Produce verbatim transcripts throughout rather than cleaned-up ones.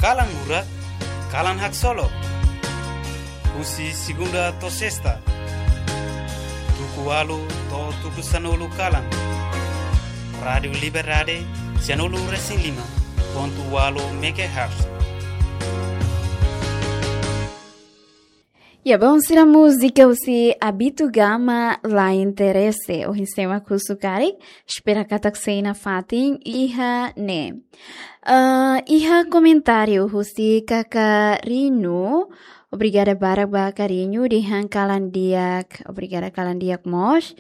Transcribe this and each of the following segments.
Kalan Lurak, Kalan Haksolok. Husi segunda to'o sesta, tuku ualu to'o tuku sanulu kalan. Rádiu Liberdade, sanulu resin lima pontu ualu megahertz. Ya, bom, sira múzika husi Abito Gama, La Interese. Ohin sé mak husu karik, espera katak sei nafatin iha ne'e. Ah, iha komentáriu husi Kaka Rinu, obrigada barak ba Kaka Rinu, dehan kalan di'ak, obrigada kalan di'ak mós.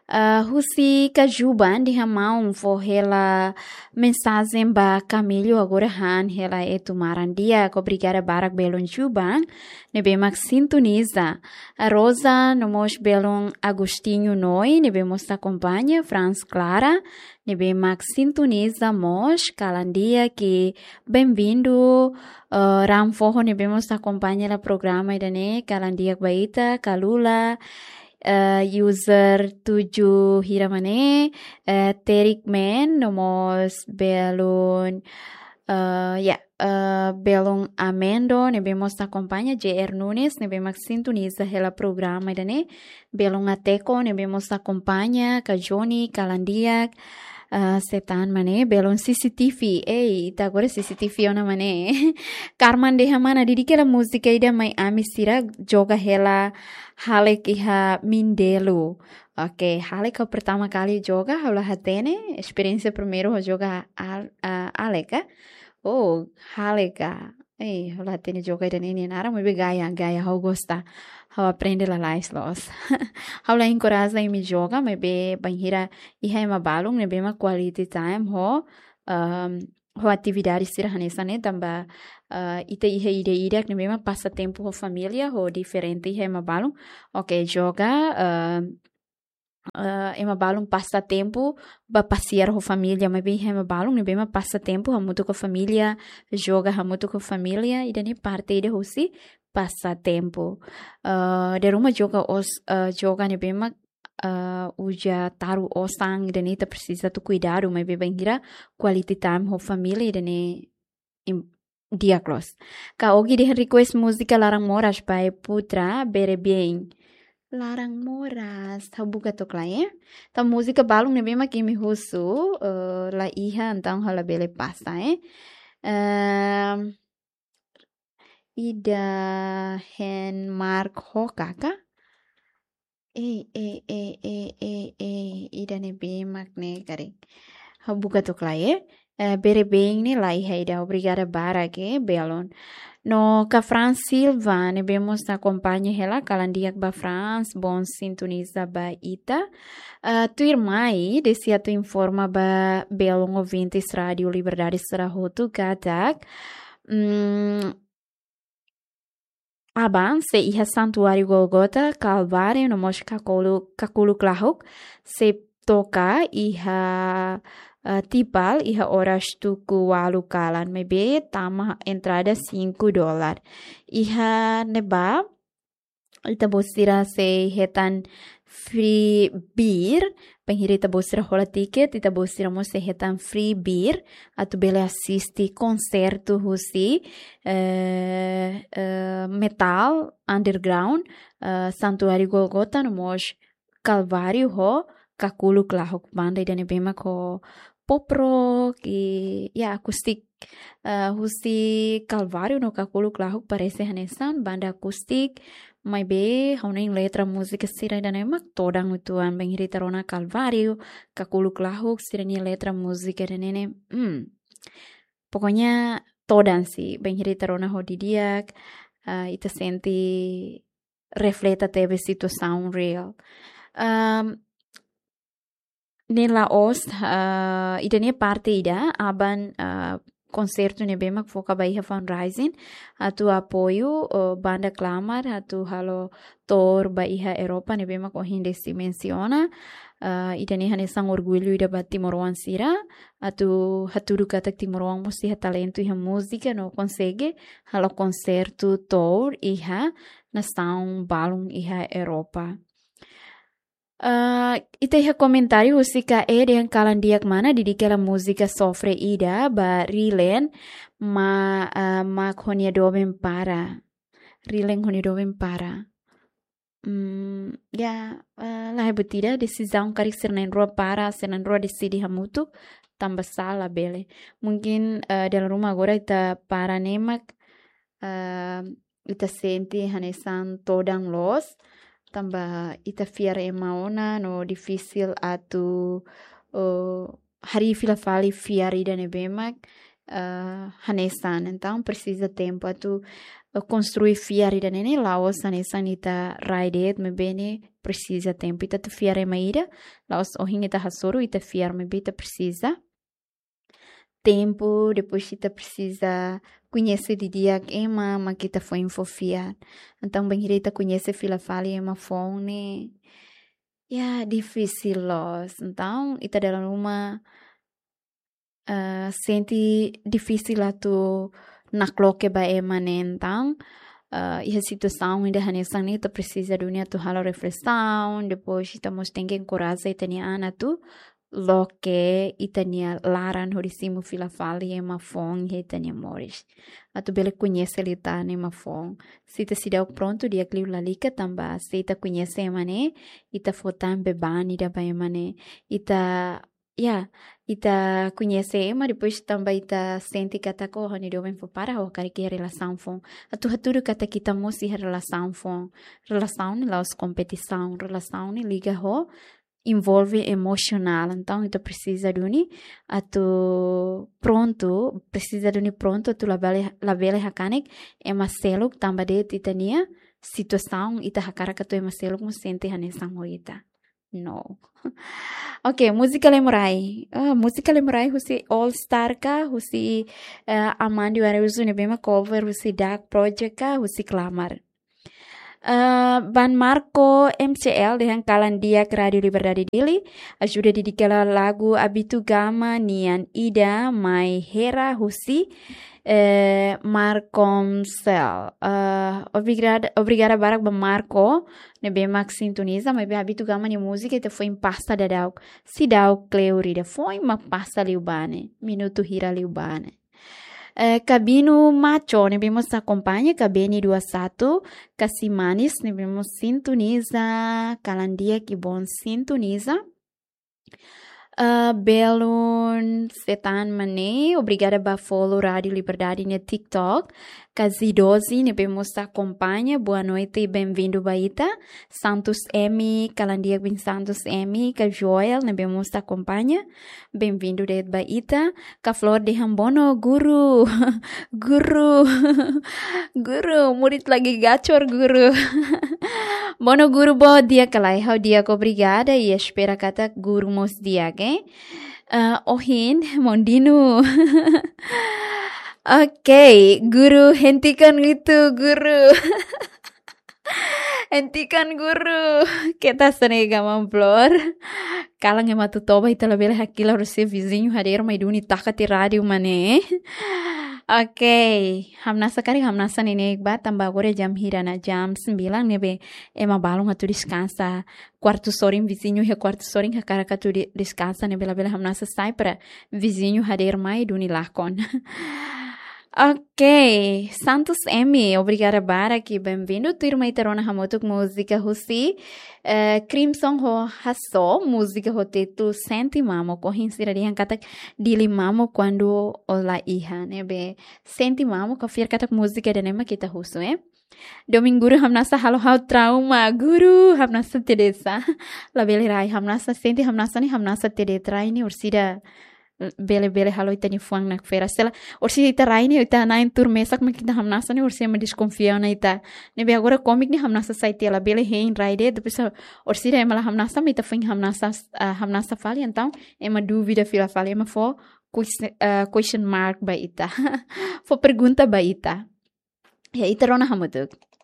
Ah, husi Kajuban, dehan maun fó hela mensajen ba Camilo, agora han hela etu maran di'ak, obrigada barak belun Juban ne'ebé mak sintoniza. Ah, Rosa, no mós belun Agostinho Noi, ne'ebé mós akompaña, Franz Clara, ne'ebé mak sintoniza mós, kalan di'ak, bem-vindo, ah, Ram Foho ne'ebé mós akompaña hela programa ida-ne'e, kalan di'ak ba ita, Kalula, eh, user tujuh hira mak ne'e, eh, Terik Men, no mós belun, eh, ya, eh, belun Amendo, ne'ebé mós akompaña, J R Nunes, ne'ebé mak sintoniza hela programa ida-ne'e, belun Ateko, ne'ebé mós akompaña, Kak Joni, kalan di'ak, eh, setan mak ne'e, belun C C T V, ei, ita agora C C T V ona mak ne'e. Karman dehan mana, didik hela múzika ida mai ami sira joga hela Halek iha Mindelo. Oke, Halek ha'u pertama kali joga, ha'u la hatene, esperiénsia primeiru ha'u joga al-, ah, Halek, eh? Oh, Halek, ah. Eh, ha'u la hatene joga ida-ne'e nia naran, maibé gaya, gaya, ha'u gosta. Ha'u aprende lalais loos. Ha'u la enkoraja imi joga, maibé bainhira iha ema balun, ne'ebé mak quality time ho, ehm, ho atividade sira hanesan ne'e, tanba, eh, ita iha ida-idak ne'ebé mak pasa tempu ho família, ho diferente iha ema balun. Oke, joga, eh, eh, ema balun pasa tempu ba pasiar ho família, maibé iha ema balun ne'ebé mak pasa tempu hamutuk ho família, joga hamutuk ho família, ida-ne'e parte ida husi pasa tempu. Eh, dala ruma joga os-, eh, joga ne'ebé mak, eh, uza taru osan, ida-ne'e ita presiza atu kuidadu, maibé bainhira quality time ho família, ida-ne'e im-, di'ak loos. Kak Ogi dehan request múzika Laran Moras by Putra Berebien. Laran Moras, ha'u buka to'ok lai, eh. Entaun múzika balun ne'ebé mak imi husu, eh, la iha, entaun ha'u labele pasa, eh. Ehm, ida hein Mark Hoka ka? Eh, eh, eh, eh, eh, eh, ida-ne'ebé mak ne'e karik. Ha'u buka to'ok lai, eh. Eh, Berebien ne'e la iha ida, obrigada barak, eh, belun. No Kak Franz Silva, ne'ebé mós akompaña hela, kalan di'ak ba Franz, bom sintoniza ba ita. Eh, tuirmai, desi atu informa ba belun ouvintes Rádiu Liberdade sira hotu katak, mm, aban sei iha Santuáriu Gólgota, Kalváriu, no mós Kakulu, Kakuluk Lahuk, sei toka iha, eh, Tikal, iha oras tuku ualu kalan, maibé tama entrada cinco dólar. Iha ne'ebá, ita-boot sira sei hetan free beer, bainhira ita-boot sira hola tiket, ita-boot sira mós sei hetan free beer, atu bele asiste konsertu husi, eh, eh, metal underground, eh, Santuáriu Gólgota, no mós Kalváriu ho Kakuluk Lahuk, banda ida-ne'ebé mak ho pop rock i, ya, akustik. Eh, husi Kalváriu no Kakuluk Lahuk parese hanesan banda akustik, maibé ha'u hanoin letra múzika sira ida-ne'e mak todan uitoan, bainhira ita rona Kalváriu, Kakuluk Lahuk, sira-nia letra múzika ida-ne'e, hmm. Pokoknya todan sih, bainhira ita rona ho didi'ak, eh, ita sente refleta tebes situasaun reál. Ehm, ne'e la'ós, eh, ida-ne'e parte ida, aban, eh, konsertu ne'ebé mak foka ba iha fundraising, atu apoiu, eh, banda Klamar, atu halo tour ba iha Europa, ne'ebé mak ohin Desi mensiona, eh, ida-ne'e hanesan orgullu ida ba timoroan sira, atu hatudu katak timoroan mós iha talentu iha múzika no konsege halo konsertu tour iha nasaun balun iha Europa. Ah, ita iha komentáriu husi K E dehan kalan di'ak mana, dedika hela múzika Sofre Ida ba Rilen, ma, ah, mak ho nia doben para. Rilen ho nia doben para. Hmm, ya, ah, la hebat ida, desizaun karik sira na'in-rua para, sira na'in-rua deside hamutuk, tanba sala bele. Mungkin, ah, dala ruma agora ita para ne'e mak, ah, ita sente hanesan todan loos, tanba ita fiar ema ona no difisil atu, oh, harii fila fali fiar ida ne'ebé mak, ah, hanesan. Entaun, presiza tempu atu, ah, konstrui fiar ida ne'e ne'e la'ós hanesan ita rai de'it, maibé ne'e presiza tempu. Ita atu fiar ema ida, la'ós ohin ita hasoru, ita fiar, maibé ita presiza tempu, depois ita presiza koñese didi'ak ema mak ita foin fó fiar. Entaun, bainhira ita koñese fila fali ema foun ne'e, ya, difisil loos. Entaun, ita dala ruma, ah, sente difisil atu nakloke ba ema ne'e. Entaun, ah, iha situasaun ida hanesan ne'e ita presiza duni atu halo refleksaun, depois ita mós tenke enkoraja ita-nia an atu loke ita-nia laran hodi simu fila fali ema foun iha ita-nia moris. Atu bele koñese liután ema foun. Se ita seidauk prontu, di'ak liu lalika, tanba se ita koñese ema ne'e, ita fó tan beban ida ba ema ne'e. Ita, ya, ita koñese ema, depois tanba ita sente katak, oh, ha'u-nia doben fó para, ha'u hakarak iha relasaun foun. Atu hatudu katak ita mós iha relasaun foun. Relasaun ne'e la'ós kompetisaun, relasaun ne'e liga ho envolve emosionál. Entaun, ita presiza duni atu prontu, presiza duni prontu atu labele, labele hakanek ema seluk, tanba de'it ita-nia situasaun, ita hakarak atu ema seluk mós sente hanesan ho ita. No. Ok, múzika Lemurai. Ah, múzika Lemurai husi All Star ka, husi, eh, Amandi Araújo ne'ebé mak cover husi Dark Project ka, husi Klamar. Eh, Ban Marco M C L dehan kalan di'ak Rádio Liberdade Dili, ajuda dedika hela lagu Abitu Gama nian ida mai Hera husi, eh, Marcomcel. Eh, obrigada, obrigada barak ba Marco ne'ebé mak sintoniza, maibé Abitu Gama nia múzika ita foin pasa daudauk. Seidauk kleur ida, foin mak pasa liubá ne'e, minutu hira liubá ne'e. Eh, Kabinu Macho ne'ebé mós akompaña, Kabeni dua satu, Kasi Manis ne'ebé mós sintoniza, kalan di'ak i bon sintoniza. Eh, Belun Setan Mane, obrigada ba follow Rádio Liberdade nia TikTok. Kazi Dozi ne'ebé mós akompaña, boa noite, bem-vindo ba ita. Santos M, kalan di'ak biin Santos M, ka Joel ne'ebé mós akompaña, bem-vindo de'it ba ita. Ka Flor dehan bono guru. Guru. Guru, murid lagi gacor guru. Bono guru, bo di'ak ka lae? Ha'u di'ak, obrigada, i espera katak guru mós di'ak, eh? Ah, ohin, Mondino. Ok, guru, hentikan itu, guru. Hentikan guru. Keta senega mamplor. Kalan ema atu toba, ita labele hakilar husi viziñu hadeer mai duni taka tiha rádiu mane. Ok. Hamnasa karik, hamnasa neineik ba, tanba agora jam hira ona, jam sembilan ne'ebé ema balun atu deskansa. Kuartu sorin, viziñu iha kuartu sorin hakarak atu de-, deskansa ne'ebé labele hamnasa sai para viziñu hadeer mai duni lakon. Ok, Santos M, obrigada barak i bem-vindo. Tuirmai ita rona hamutuk múzika husi, eh, Crimson ho Hasso, múzika ho títulu Sente Mamuk. Ohin sira dehan katak Dili mamuk kuandu ó la iha, ne'ebé Sente Mamuk, ha'u fiar katak múzika ida-ne'e mak ita husu, eh. Domin guru, hamnasa halo ha'u trauma, guru, hamnasa tebes. Labele rai, hamnasa sente, hamnasa ne'e, hamnasa tebes rai ne'e, orsida bele-bele halo ita-nia fuan nakfera. Se lae, orsida ita rai ne'e, ita na'in tuur mesak mak ita hamnasa ne'e, orsida ema deskonfia ona ita. Ne'ebé agora kómiku ne'e hamnasa sai tiha, labele hein rai de'it, depois orsida ema la hamnasa, mak ita foin hamnasa, ah, hamnasa fali, entaun ema dúvida fila fali, ema fó ques-, ah, question mark ba ita. Fó pergunta ba ita. Ya, ita rona hamutuk.